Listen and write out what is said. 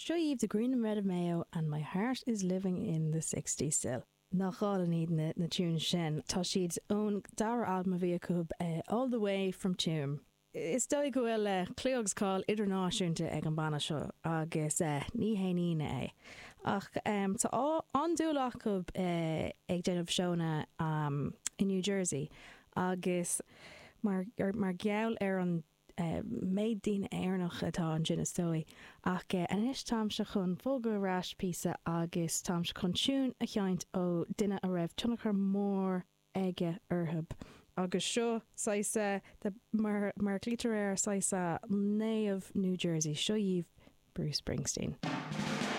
Seo dhaoibh The Green and Red of Mayo and My Heart is Living in the Sixties Still. Nach álainn iad na tunes sin. Tá siad ón dara albam a bhí acu, All the Way from Tuam. Is dóigh go bhfuil clú agus cáil idirnáisiúnta ag an banna seo agus ní haon ionadh é. Ach tá an-dúil acu ag déanamh seónna i New Jersey agus mar gheall ar an méid daoine Éireannach atá ansin is dóigh. Ach anois táimse chun bogadh ar ais píosa agus táimse chun tiún a sheinnt ó duine a raibh tionchar mór aige orthu. Agus seo saghas de, mar mar a ghlaoitear air, saghas naomh New Jersey. Seo dhaoibh Bruce Springsteen.